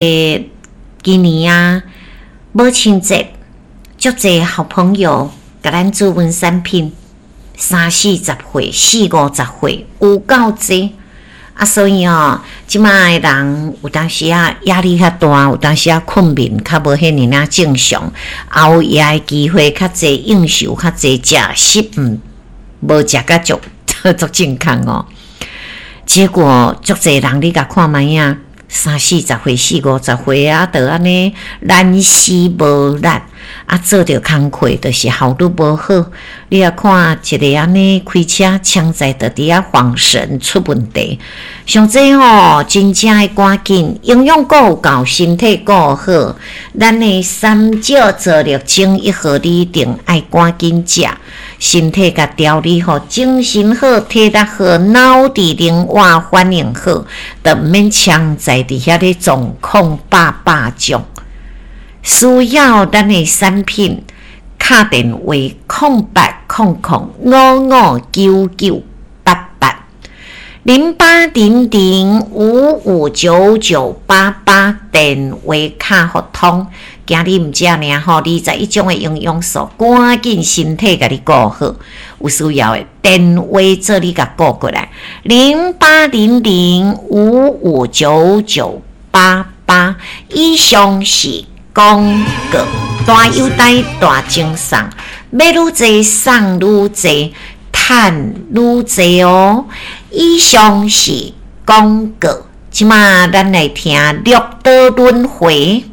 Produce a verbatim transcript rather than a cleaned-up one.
今年啊，母親節，足濟好朋友共咱注文產品，三四十歲、四五十歲，有夠濟。啊，所以哦，這馬的人有當時仔壓力較大，有當時仔睏眠較無彼爾仔正常，熬夜的機會較濟，應酬較濟，食食毋無食甲足足健康哦。結果足濟人你共看覓仔，三四十歲、四五十歲啊，就按呢懶死無力，啊，做著工課就是效率無好。你若看一个按呢開車槍在就佇遐晃神出問題。像這吼，真正愛趕緊營養閣有夠，身體閣好。咱的三少做力整一號，你一定愛趕緊食，身體共調理好，精神好，體力好，腦智靈活反應好，就毋免槍在佇遐咧狀況百百種。需要咱的產品，敲電話空八空空五五九九八八零八零零五五九九八八，電話敲予通。今日毋食爾吼，二十一種的營養素，趕緊身體共你顧好。有需要的電話做你共顧過來，零八零零五五九九八八。以上是廣告，大優待大贈送，買愈濟送愈濟，趁愈濟哦。以上是廣告，這馬咱來聽六道輪迴。